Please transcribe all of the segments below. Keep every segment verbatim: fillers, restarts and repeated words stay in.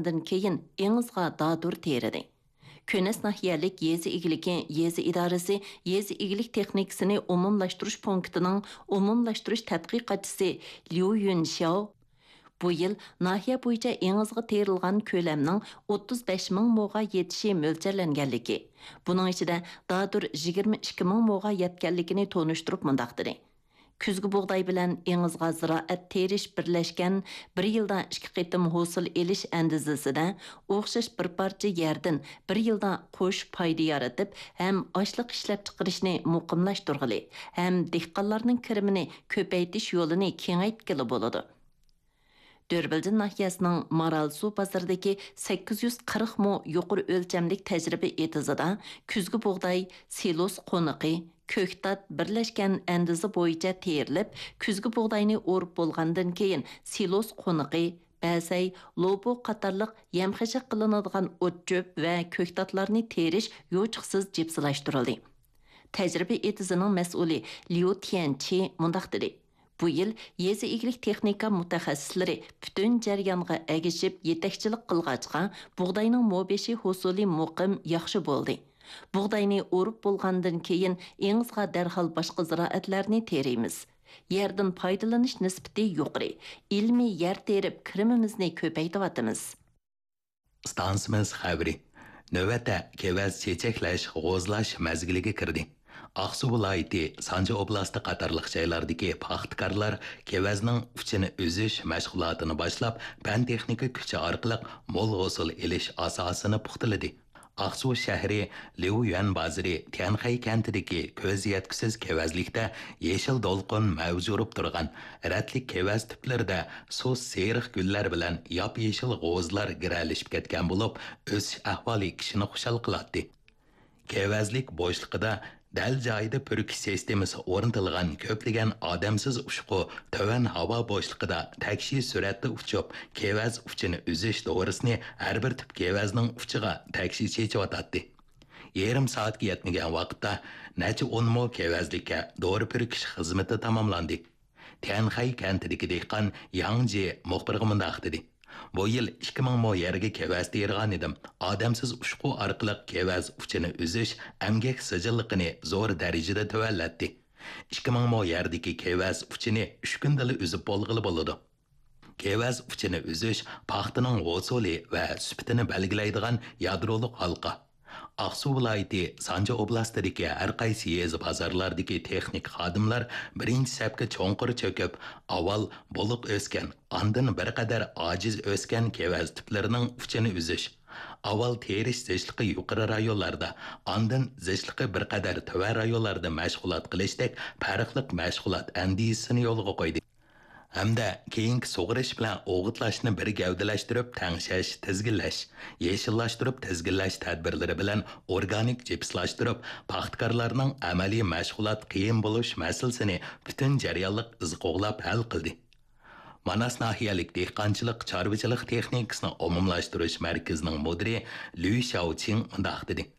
ئاندىن كېيىن ئېڭىزغا دادۇر تېرىدى. كۆنەس ناھىيەلىك يېزا ئىگىلىكى يېزا ئىدارىسى يېزا ئىگىلىك تېخنىكىسىنى ئومۇملاشتۇرۇش پونكىتىنىڭ ئومۇملاشتۇرۇش تەتقىقاتچىسى ليۇ يۈنشياۋ بۇ يىل ناھىيە بويىچە ئېڭىزغا تېرىلغان كۆلەمنىڭ ئوتتۇز بەش مىڭ موغا يېتىشى مۆلچەرلەنگەنلىكى، بۇنىڭ ئىچىدە دادۇر يىگىرمە ئىككى مىڭ موغا يەتكەنلىكىنى تونۇشتۇرۇپ مۇنداق دېدى: كۈزگى بۇغداي بىلەن ئېڭىزغا زىرائەت تېرىش بىرلەشكەن بىر يىلدا ئىككى قېتىم ھوسۇل ئېلىش ئەندىزىسىدە ئوخشاش بىر پارچە يەردىن بىر يىلدا قوش پايدا يارىتىپ ھەم ئاشلىق ئىشلەپچىقىرىشنى مۇقىملاشتۇرغىلى ھەم دېھقانلارنىڭ كىرىمىنى كۆپەيتىش يولىنى كېڭەيتكىلى بولىدۇ. دۆربىلدىن ناھىيەسىنىڭ مارالسۇ بازىرىدىكى سەككىز يۈز قىرىق مو يۇقىرى ئۆلچەملىك تەجرىبە ئېتىزىدا كۈزگى بۇغداي، سىلوس قونىقى، كۆكتات بىرلەشكەن ئەندىزە بويىچە تېرىلىپ، كۈزگى بۇغداينى ئورۇپ بولغاندىن كېيىن سىلوس قونىقى، بەسەي، لوبۇ قاتارلىق يەم-خەشەك قىلىنىدىغان ئوت-چۆپ ۋە كۆكتاتلارنى تېرىش يوچۇقسىز جىپسىلاشتۇرۇلدى. تەجرىبە ئېتىزىنىڭ مەسئۇلى ليۇ تيەنچى مۇنداق دېدى: بۇ يىل يېزا ئىگىلىك تېخنىكا مۇتەخەسسىسلىرى پۈتۈن جەريانغا ئەگىشىپ يېتەكچىلىك قىلغاچقا، بۇغداينىڭ مو بېشى ھوسۇلى مۇقىم، ياخشى بولدى. بۇغداينى ئورۇپ بولغاندىن كېيىن، ئېڭىزغا دەرھال باشقا زىرائەتلەرنى تېرىيمىز. يەردىن پايدىلىنىش نىسبىتى يۇقىرى، ئىلمىي يەر تېرىپ، كىرىمىمىزنى كۆپەيتىۋاتىمىز. ئىستانسىمىز خەۋىرى. نۆۋەتتە كېۋەز چېچەكلەش، غوزلاش مەزگىلىگە كىردى. ئاقسۇ ۋىلايىتى، سانجى ئوبلاستى قاتارلىق جايلاردىكى پاختىكارلار كېۋەزنىڭ ئۇچىنى ئۈزۈش مەشغۇلاتىنى باشلاپ، پەن-تېخنىكا كۈچى ئارقىلىق مول ھوسۇل ئېلىش ئاساسىنى پۇختىلىدى. ئاقسۇ شەھىرى ليۇيۈەن بازىرى تيەنخەي كەنتىدىكى كۆز يەتكۈسىز كېۋەزلىكتە يېشىل دولقۇن مەۋج ئۇرۇپ تۇرغان رەتلىك كېۋەز تۈپلىرىدە سۇس سېرىق گۈللەر بىلەن ياپيېشىل غوزىلار گىرەلىشىپ كەتكەن بولۇپ، ئۆسۈش ئەھۋالى كىشىنى خۇشال قىلاتتى. كېۋەزلىك بوشلۇقىدا دەل جايىدا پۈركۈش سىستېمىسى ئورنىتىلغان كۆپلىگەن ئادەمسىز ئۇچقۇ تۆۋەن ھاۋا بوشلۇقىدا تەكشى سۈرئەتتە ئۇچۇپ، كېۋەز ئۇچىنى ئۈزۈش دورىسىنى ھەر بىر تۈپ كېۋەزنىڭ ئۇچىغا تەكشى چېچىۋاتاتتى. يېرىم سائەتكە يەتمىگەن ۋاقىتتا نەچچە ئون مو كېۋەزلىككە دورا پۈركۈش خىزمىتى تاماملاندى. تيەنخەي كەنتىدىكى دېھقان ياڭ جى مۇخبىرغا مۇنداق دېدى: بۇ يىل ئىككى مىڭ مو يەرگە كېۋەز تېرىغانىدىم. ئادەمسىز ئۇچقۇ ئارقىلىق كېۋەز ئۇچىنى ئۈزۈش ئەمگەك سىجىللىقىنى زور دەرىجىدە تۆۋەنلەتتى. ئىككى مىڭ مو يەردىكى كېۋەز ئۇچىنى ئۈچ كۈندىلا ئۈزۈپ بولغىلى بولىدۇ. كېۋەز ئۇچىنى ئۈزۈش پاختىنىڭ ھوسۇلى ۋە سۈپىتىنى بەلگىلەيدىغان يادرولۇق ھالقا. ئاقسۇ ۋىلايىتى سانجى ئوبلاستىدىكى ھەر قايسى يېزا بازارلاردىكى تېخنىك خادىملار بىرىنچى سەپكە چوڭقۇر چۆكۈپ، ئاۋۋال بولۇق ئۆسكەن، ئاندىن بىر قەدەر ئاجىز ئۆسكەن كېۋەز تۈپلىرىنىڭ ئۇچىنى ئۈزۈش، ئاۋۋال تېرىش زىچلىقى يۇقىرى رايونلاردا، ئاندىن زىچلىقى بىر قەدەر تۆۋەن رايونلاردا مەشغۇلات قىلىشتەك پەرقلىق مەشغۇلات ئەندىزىسىنى يولغا قويدى. ھەمدە كېيىنكى سۇغىرىش بىلەن ئوغۇتلاشنى بىر گەۋدىلەشتۈرۈپ تەڭشەش، تىزگىنلەش، يېشىللاشتۇرۇپ تىزگىنلەش تەدبىرلىرى بىلەن ئورگانىك جىپسلاشتۇرۇپ، پاختىكارلارنىڭ ئەمەلىي مەشغۇلات قىيىن بولۇش مەسىلىسىنى پۈتۈن جەريانلىق ئىز قوغلاپ ھەل قىلدى. ماناس ناھىيەلىك دېھقانچىلىق، چارۋىچىلىق تېخنىكىسىنى ئومۇملاشتۇرۇش مەركىزىنىڭ مۇدىرى لۈي شياۋچىڭ مۇنداق دېدى: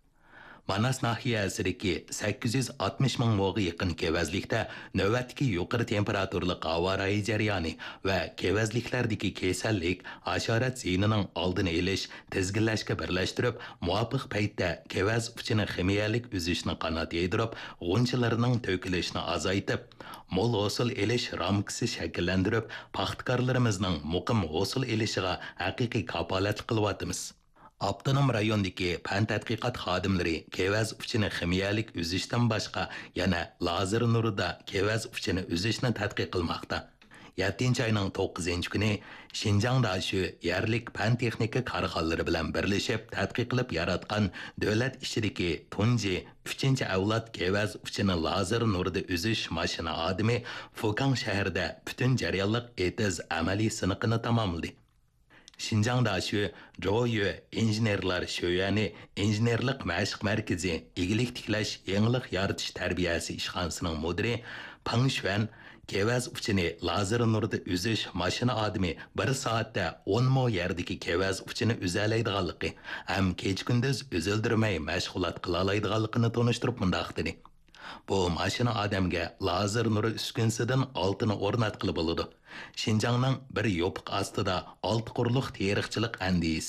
ماناس ناھىيەسىدىكى سەككىز يۈز ئاتمىش مىڭ موغا يېقىن كېۋەزلىكتە نۆۋەتتىكى يۇقىرى تېمپېراتۇرىلىق ھاۋا رايى جەريانى ۋە كېۋەزلىكلەردىكى كېسەللىك، ھاشارات زىيىنىنىڭ ئالدىنى ئېلىش، تىزگىنلەشكە بىرلەشتۈرۈپ، مۇۋاپىق پەيتتە كېۋەز ئۇچىنى خىمىيەلىك ئۈزۈشنى قانات يايدۇرۇپ، غۇنچىلىرىنىڭ تۆكۈلۈشىنى ئازايتىپ، مول ھوسۇل ئېلىش رامكىسى شەكىللەندۈرۈپ، پاختىكارلىرىمىزنىڭ مۇقىم ھوسۇل ئېلىشىغا ھەقىقىي كاپالەتلىك قىلىۋاتىمىز. ئاپتونوم رايوندىكى پەن تەتقىقات خادىملىرى كېۋەز ئۇچىنى خىمىيەلىك ئۈزۈشتىن باشقا، يەنە لازېر نۇرىدا كېۋەز ئۇچىنى ئۈزۈشنى تەتقىق قىلماقتا. يەتتىنچى ئاينىڭ توققۇزىنچى كۈنى شىنجاڭ داشۆ يەرلىك پەن تېخنىكا كارخانىلىرى بىلەن بىرلىشىپ تەتقىق قىلىپ ياراتقان دۆلەت ئىچىدىكى تۇنجى ئۈچىنچى ئەۋلاد كېۋەز ئۇچىنى لازېر نۇرىدا ئۈزۈش ماشىنا ئادىمى فۇكاڭ شەھىرىدە پۈتۈن جەريانلىق ئېتىز ئەمەلىي سىنىقىنى تاماملىدى. شىنجاڭ داشۆ جويۆ ئىنژېنېرلار شۆيۈەنى ئىنژېنېرلىق مەشىق مەركىزى ئىگىلىك تىكلەش، يېڭىلىق يارىتىش تەربىيەسى ئىشخانىسىنىڭ مۇدىرى پېڭ شۈەن كېۋەز ئۇچىنى لازېر نۇردا ئۈزۈش ماشىنا ئادىمى بىر سائەتتە ئون مو يەردىكى كېۋەز ئۇچىنى ئۈزەلەيدىغانلىقى ھەم كېچە-كۈندۈز ئۈزۈلدۈرمەي مەشغۇلات قىلالايدىغانلىقىنى تونۇشتۇرۇپ مۇنداق دېدى: بۇ ماشىنا ئادەمگە لازېر نۇرى ئۈسكۈنىسىدىن ئالتىنى ئورناتقىلى بولىدۇ. شىنجاڭنىڭ بىر يوپۇق ئاستىدا ئالتە قۇرلۇق تېرىقچىلىق ئەندىزىسى